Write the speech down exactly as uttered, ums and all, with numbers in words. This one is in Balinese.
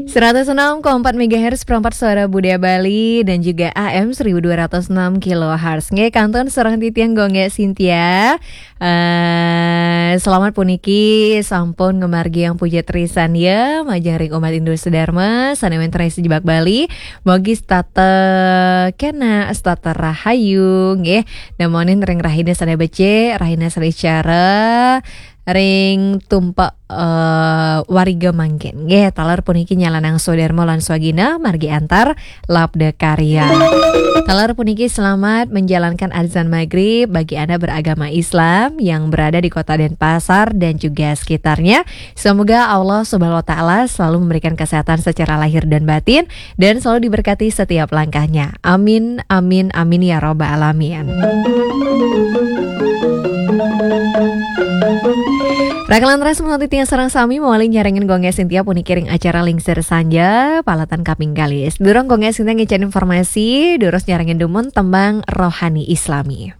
Seratus enam koma empat megahertz, perempat suara budaya Bali, dan juga A M seribu dua ratus enam kilohertz. Nggih, kantun sareng titiang Gung Gé Sintia. Eh, selamat puniki sampun ngamargiang puja trisandya majeng ring umat Hindu sedharma sané wénten ring sajebag Bali. Mugi setata kénak, setata rahayu, nggih. Nemonin ring rahina sané becik, rahina sané cara, ring tumpek, eh, wariga mangkin. Nggih, taler puniki nyalanang swadharma lan swagina, margi antar, labda karya. Taler puniki selamat menjalankan azan maghrib bagi Anda beragama Islam yang berada di Kota Denpasar dan juga sekitarnya. Semoga Allah Subhanahu wa Ta'ala selalu memberikan kesehatan secara lahir dan batin dan selalu diberkati setiap langkahnya. Amin, amin, amin ya rabbal alamin. Rakalan ras menanti tiang sareng sami mawali nyarengin Gung Gé Sintia puniki ring acara Lingsir Sanja, palatan kaping kalih. Durung Gung Gé Sintia ngicén informasi, durus nyarengin dumun tembang rohani Islami.